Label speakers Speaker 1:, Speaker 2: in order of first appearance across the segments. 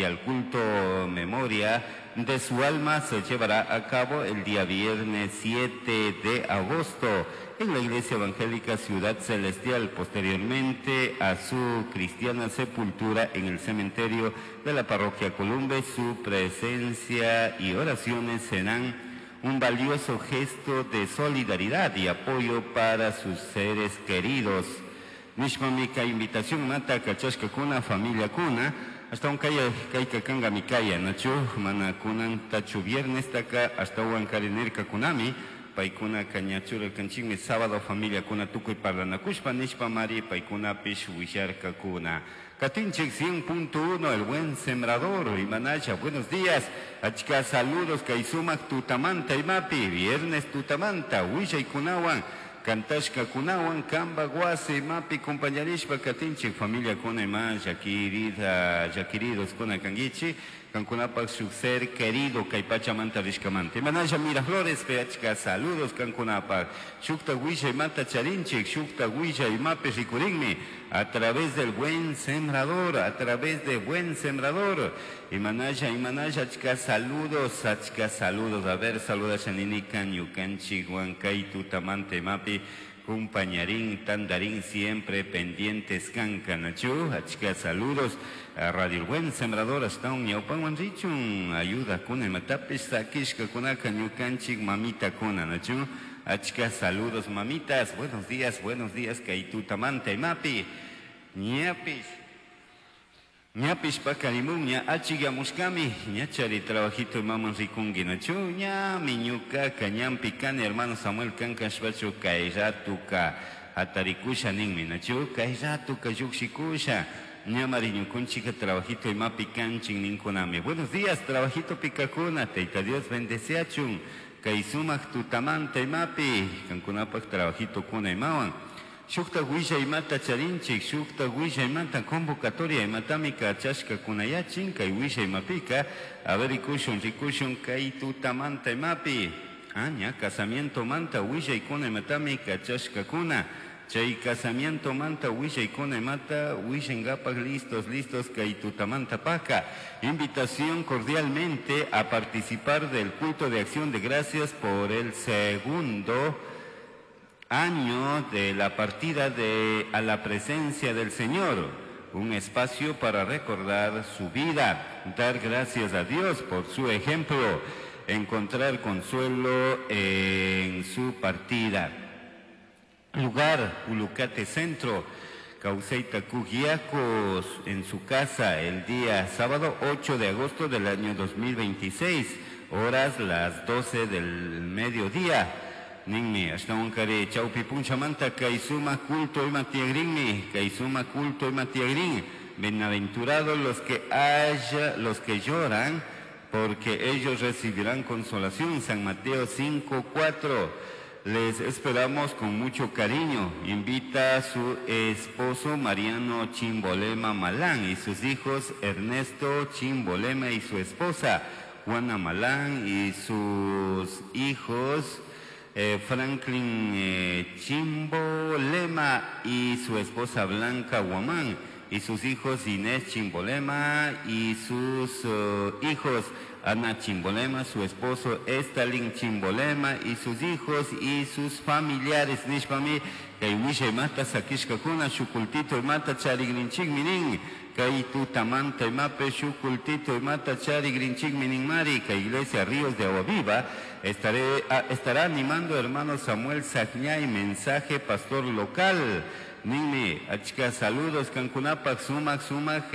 Speaker 1: Y al culto memoria de su alma se llevará a cabo el día viernes 7 de agosto en la Iglesia Evangélica Ciudad Celestial, posteriormente a su cristiana sepultura en el cementerio de la parroquia Columbe. Su presencia y oraciones serán un valioso gesto de solidaridad y apoyo para sus seres queridos. Nishpami kay invitación mata kachashkakuna familiakuna ashtawan kay kayka kankami kaya, nachu? Mana kunantachu viernestaka ashtawan kari nirkakunami paykunaka ña churarkanchikmi sábado familiakuna tukuy parlanakushpa nishpamari paykunapish willarkakuna. Katinchik 100.1, El Buen Sembrador, Imanacha, buenos días. Achka saludos kay sumak tutamanta imapi, viernes tutamanta, willaykunawan, kantashkakunawan, kamba wasi imapi compañarishpa katinchik familiakuna ima llakirida, llakiridos kuna kankichik, kankunapak shuk ser querido kay pachamanta rishkamanta. Imanalla Miraflores, achka saludos kankunapak. Shukta willaymanta charinchik, shukta willaymapi rikurinmi, a través del Buen Sembrador, a través de Buen Sembrador. Imanalla, imanalla, achka saludos, achka saludos. A ver, saluda Shaninikan, ñukanchik, Huancay, tutamanta imapi, compañarín, tandarín, siempre pendientes, kankanachu, achka saludos. A Radio El Buen Sembrador, hasta un ñawpanwan richun, ayuda kuna imatapish sakishka kunaka ñukanchik mamita kuna, nachu. Achka saludos, mamitas, buenos días, kay tutamanta imapi, ñapish. Ñapish pakarimun, ña achigamushkami, ñachari trabajito imaman rikunki, nachu, ñami ñukaka, ñampi kani, hermano Samuel kankashpachu, kay ratuka hatarikusha ninmi, nachu, kay ratuka llukshikusha, ñamari ñukunchika trabajito imapi kanchin ninkunami. Buenos días, trabajito pikakuna, Tayta Dios bendeciachun, kay sumak tutamanta imapi, kankunapak trabajito kuna imawan. Shukta willaymata charinchik, shukta willaymata convocatoria imatami kachashka kunayachin, kay willaymapika, a ver, rikushun, rikushun, kay tutamanta imapi. Ah, ña, casamiento manta willaykuna imatami kachashka kuna. Chay casamiento manta willaykuna imata, willangapak listos, listos, kay tutamanta paka. Invitación cordialmente a participar del culto de acción de gracias por el segundo año de la partida de a la presencia del Señor, un espacio para recordar su vida, dar gracias a Dios por su ejemplo, encontrar consuelo en su partida. Lugar, Ulucate Centro, Cauceita Cugiacos, en su casa, el día sábado 8 de agosto del año 2026, horas las 12 del mediodía. Ninmi, ashtawan kari chawpi punchamanta kay suma culto ima tiagrinmi, kay suma culto ima tiagrin. Bienaventurados los que haya, los que lloran, porque ellos recibirán consolación. San Mateo 5:4. Les esperamos con mucho cariño. Invita a su esposo Mariano Chimbolema Malán y sus hijos Ernesto Chimbolema y su esposa Juana Malán y sus hijos Franklin Chimbolema y su esposa Blanca Guamán y sus hijos Inés Chimbolema y sus hijos Ana Chimbolema, su esposo Estalin Chimbolema y sus hijos y sus familiares. Nishpami, kay willaymata sakishkakuna shukultito imata charigrinchik minin, kay tutamanta imape shukultito imata charigrinchik minin mari, kay Iglesia Ríos de Agua Viva estará animando hermano Samuel Sagñay, mensaje pastor local. Ninmi, achka saludos, kankunapak, sumak, sumak,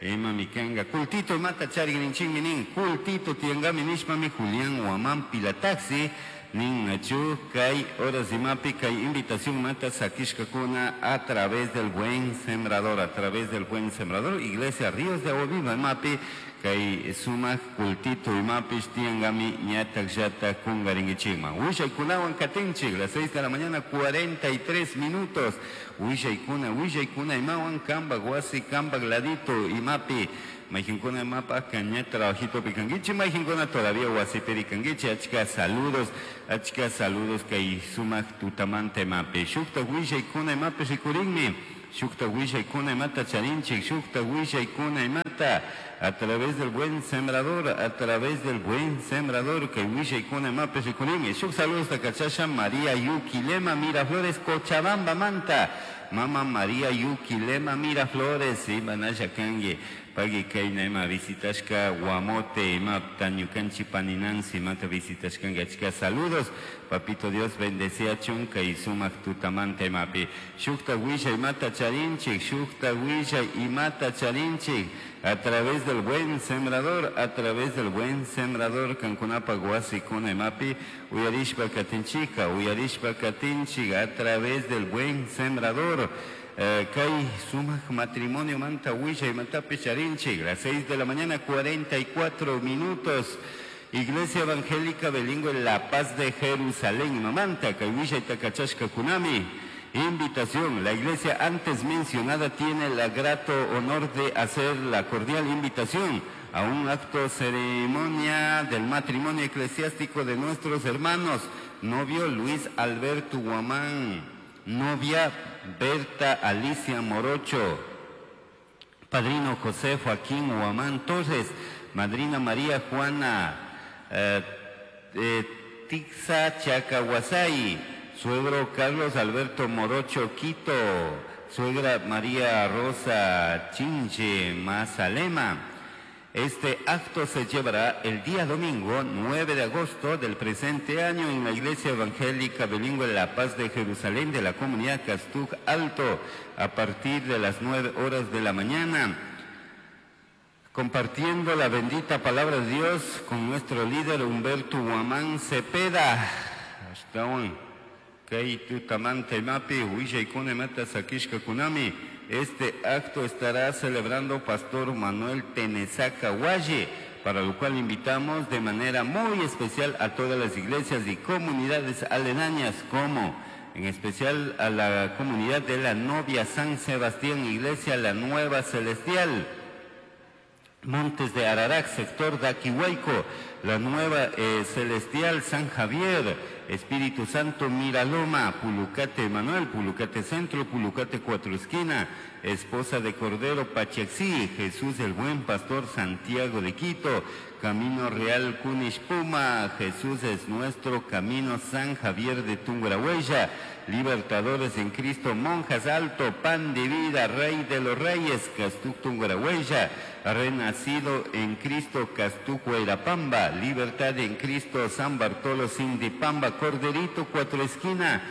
Speaker 1: ima mikanga, kultito imata charigrinchik minin, kultito tiangami nishpami Julián Guamán Pilataxi, nin nachu, kay horas imapi, kay invitación mata sakishkakuna a través del Buen Sembrador, a través del Buen Sembrador, Iglesia Ríos de Agua Viva imapi, kay sumak kultito imapi, tiangami ñatak llata kungaringichikman. Willaykunawan katinchik, las 6 de la mañana, 43 minutos. Willaykuna, willaykuna imawan, kamba wasi, kamba ladito imapi. Mayjinkuna imapa, caña trabajito picanguichi, mayjinkuna todavía wasi pericanguichi, achka saludos, achka saludos kay sumak tutamanta imapi. Shukta willaykuna imapi rikurinmi. Shukta willaykuna imata charinchik, shukta willaykuna imata a través del buen sembrador, a través del buen sembrador, kay willaykuna imapish rikurinmi. Shuk saludos kachasha María Yuquilema Miraflores Cochabamba manta. Mama María Yuquilema Miraflores, imanalla kanki. Pagui kayna ima visitashka Guamote, ima tañukanchi paninansi, imata visitashkanki achka saludos. Papito Dios bendeciachun kay sumak tutamanta imapi. Shukta willa imata charinchik, shukta willa imata charinchik. A través del buen sembrador, a través del buen sembrador, kankunapa wasikuna imapi, uyarishpa katinchika, uyarishpa katinchik, a través del buen sembrador. Kay sumak matrimonio manta willa imatapi charinchik, las 6 de la mañana 44 minutos. Iglesia Evangélica Bilingüe La Paz de Jerusalén, Mamanta, kay willa itakachashka kunami. Invitación. La iglesia antes mencionada tiene el grato honor de hacer la cordial invitación a un acto ceremonia del matrimonio eclesiástico de nuestros hermanos, novio Luis Alberto Guamán, novia Berta Alicia Morocho, padrino José Joaquín Guamán Torres, madrina María Juana Tixa Chacahuasay, suegro Carlos Alberto Morocho Quito, suegra María Rosa Chinche Mazalema. Este acto se llevará el día domingo 9 de agosto del presente año en la Iglesia Evangélica Bilingüe La Paz de Jerusalén de la comunidad Castuj Alto a partir de las 9 horas de la mañana. Compartiendo la bendita palabra de Dios con nuestro líder Humberto Guamán Cepeda. Este acto estará celebrando Pastor Manuel Tenesaca Hualle, para lo cual invitamos de manera muy especial a todas las iglesias y comunidades aledañas, como en especial a la comunidad de la Novia San Sebastián, Iglesia La Nueva Celestial, Montes de Ararac, sector de Aquihuayco, la Nueva Celestial San Javier, Espíritu Santo Miraloma, Pulucate Manuel, Pulucate Centro, Pulucate Cuatro Esquina, Esposa de Cordero Pachaxí, Jesús el Buen Pastor Santiago de Quito, Camino Real Cunishpuma, Jesús es nuestro camino San Javier de Tungurahua, Libertadores en Cristo, Monjas Alto, Pan de Vida, Rey de los Reyes, Castuc Tungurahua, Renacido en Cristo, Castuc Huayrapamba, Libertad en Cristo, San Bartolo Sindipamba, Corderito, Cuatro Esquina,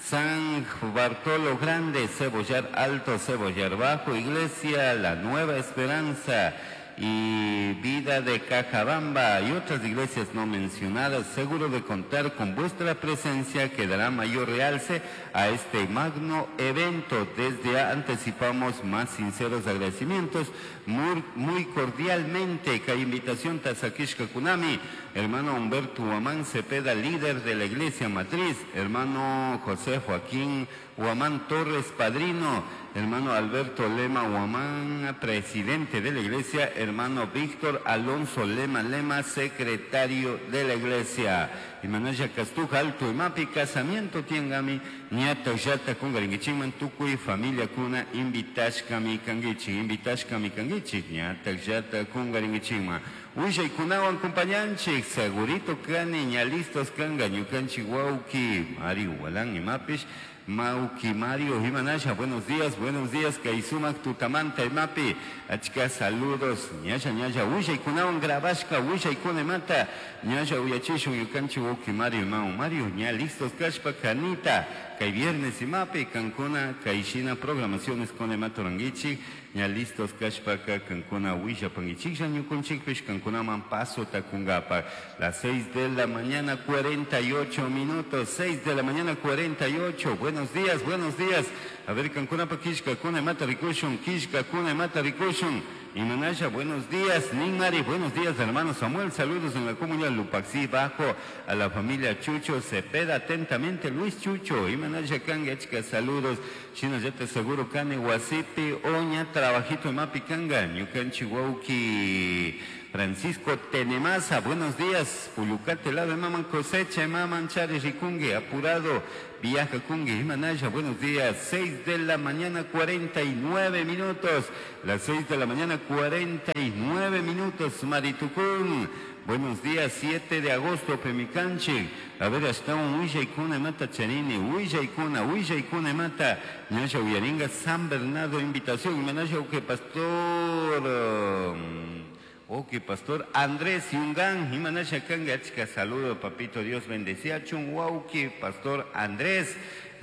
Speaker 1: San Bartolo Grande, Cebollar Alto, Cebollar Bajo, Iglesia La Nueva Esperanza y Vida de Cajabamba y otras iglesias no mencionadas, seguro de contar con vuestra presencia que dará mayor realce a este magno evento. Desde ya anticipamos más sinceros agradecimientos, muy, muy cordialmente. Que invitación Tazakishka Kunami, hermano Humberto Huamán Cepeda, líder de la iglesia matriz, hermano José Joaquín Huamán Torres, padrino, hermano Alberto Lema Huamán, presidente de la iglesia, hermano Víctor Alonso Lema Lema, secretario de la iglesia. Imanaya Castuja Alto Imapi, casamiento tiengami, ñata yata kungaringichikman tukuy familia kuna invitashkami kangichik, invitashkami kangichik, ñata yata kungaringichikman. Willaykunawan compañanchik, segurito kani, ña listos kanga, ñukanchik wauki, Mario Walán imapish, Mauki Mario Jimanasha, buenos días, Kaisumak Tutamanta Imapi, achka saludos, ñasha ñasha, willaykunawan grabashka, willaykuna mata, ñasha uyachishun yukanchi wauki Mario Mau Mario, ña listos kashpa kanita, kay viernes imapi, kankuna, kayshina programaciones con imatorangichik, ña listos kashpaka, kankuna willapangichik, ñukunchikpish, kankunaman paso takungapa, las 6 de la mañana 48 minutos, 6 de la mañana 48, buenos días, buenos días. A ver, kankuna pa kishka kuna mata rikushun, kishka kuna mata rikushun. Imanasha, buenos días. Ninmari, buenos días, hermano Samuel. Saludos en la comunidad Lupaxí Bajo, a la familia Chucho Cepeda, atentamente Luis Chucho. Imanasha Kanga, saludos. Chino, ya te seguro, Kane, Guasipi, Oña, Trabajito, Mapi, Kanga, Ñukanchi, Wauki. Francisco Tenemaza, buenos días. Pulucate lado maman cosecha, maman chari rikungi, apurado, viaja kungi, Imanaya, buenos días. 6 de la mañana, 49 minutos. Las 6 de la mañana, 49 minutos, Maritucún. Buenos días, 7 de agosto, Pemicanchi. A ver, hasta un huillaykuna mata charini, huillaykuna, huillaykuna mata. Ñasha uyaringa San Bernardo, invitación. Imanaya, que pastor. Ok, pastor Andrés Yungán, Imanasha Kanga, chica, saludo, papito, Dios bendecía, Chun pastor Andrés,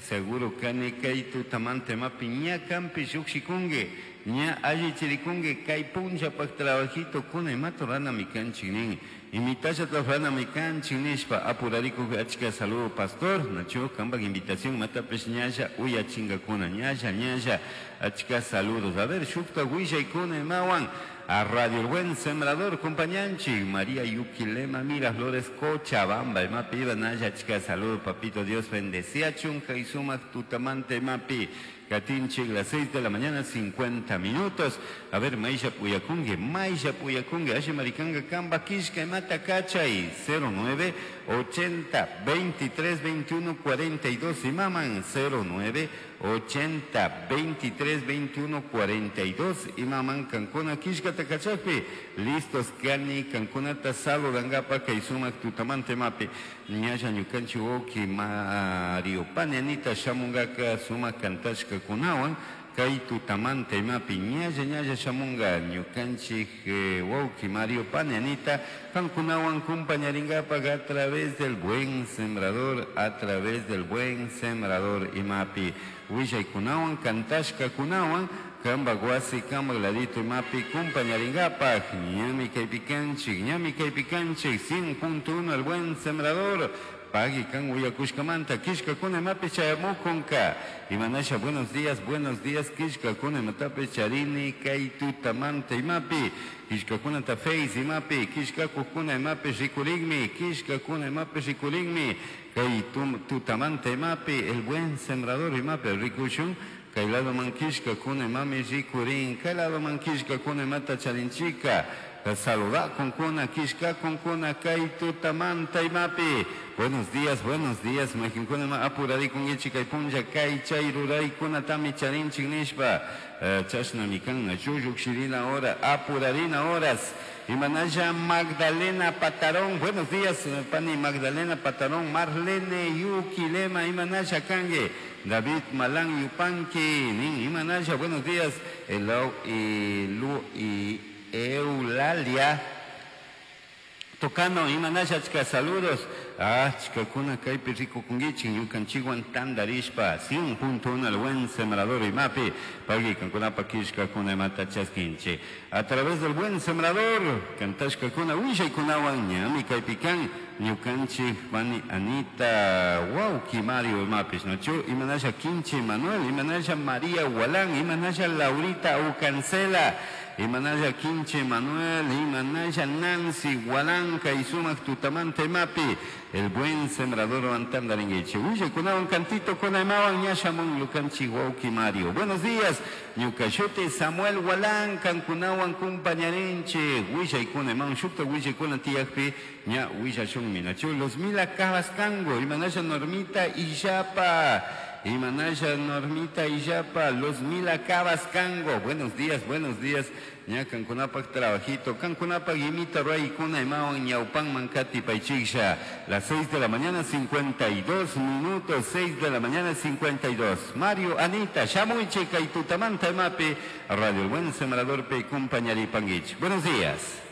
Speaker 1: seguro kani kay tutamante mapi, ña kampi shukshikungue, ña alli chirikungue, kay puncha pak trabajito, kuna imato rana mi kanchinin, imitasha rana mi kanchinishpa, apurariku achka, saludo, pastor, nacho, kambak invitación, matapes ñasha, uya chinga kuna, ñasha, ñasha, achka, saludos, a ver, shukta huilla y kuna imawan, a Radio El Buen Sembrador, compañanchi, María Yuquilema, Miraflores, Cochabamba, Mapi, Naya, chica, saludo, papito, Dios bendecía, chunja y sumas, tutamante, mapi, Katinchi, las 6 de la mañana, 50 minutos. A ver, Maisha Puyacungue, Maisha Puyacungue, Ashe Maricanga, Kamba, Kishka, Mata, Cachay, 09 80 23 21 42 y maman 09 80 23 21 42 y maman Cancuna, Kishka, Takachapi, listos, Kani, Cancunata, Saludangapa, Kaisumak, Tutamante, Mapi, Ñaya, Ñukanchi, Oki, Mario, Pananita, Shamungaka, Suma, Kantashka, kunawan kay tutamante imapi ñalla ñalla shamunga ñukanchik wawki Mario Pananita kankunawan kumpañaringapak a través del buen sembrador, a través del buen sembrador imapi willaykunawan kantashka kunawan kamba wasi kamba ladito imapi kumpañaringapak ñami kaypikanchik ñami kaypikanchik 100.1 el buen sembrador. Pagui kan uyakushkamanta kishka kuna mapi chayamukunka imanasha buenos días kishka kuna matapi charini kay tutamanta imapi kishka kuna ta face imapi kishka kuna imapi rikurigmi kishka kuna imapi rikurigmi kay tutamanta imapi el buen sembrador imapi rikushun kay lado man kishka kuna imami rikurin kay lado man kishka kuna imata charinchika saluda con kuna kishka con kuna kay tutamanta imapi. Buenos días, majinkuna ma apurari con kay punlla kay chay ruray kuna tami charinchik nishpa chashna mikan shuyuk shirina hora apurarina horas. Imanaya Magdalena Patarón, buenos días, pani Magdalena Patarón, Marlene Yuquilema, Imanaya Kangue, David Malán Yupanqui, nin Imanaya, buenos días, Elo y Lu y Eulalia Tocano, Imanaya, chica, saludos. Ah, chica, kuna kaypi rikukunkichik ñukanchikwan tandarishpa 100.1 el buen sembrador imapi pagui kankunapa kishkakuna imata chaskinchik. A través del buen sembrador kantashkakuna willaykunawan ñami kaypikan ñukanchik pani Anita Wauki Mario imapish nachu Imanaya Quinche Manuel, Imanaya María Hualán, Imanaya Laurita Ucancela, Imanaya Quinche Manuel, Imanaya Nancy Hualanca y sumak tutamante imapi el buen sembrador antandaringuiche. Uye kunawan cantito kunaimawan ñashamun lukanchi wauki Mario. Buenos días, ñukashuti Samuel Hualán, kankunawan kumpañarinche. Huilla kunaimawan shukta huilla kuna tiyakpi ña huilla shunminachu. Los mila cabascango, Imanaya Normita Illapa. Imanaya Normita Illapa, los mila cabascango. Buenos días, buenos días. Ña kankunapak trabajito, kankunapak imita ruay kuna imawan ñaupan mancati paichiksha. Las 6 de la mañana 52 minutos, 6 de la mañana 52. Mario, Anita, Shamuiche, Kaitutamanta, Mapi, Radio El Buen Sembrador, Pe, Compañaripanguich. Buenos días.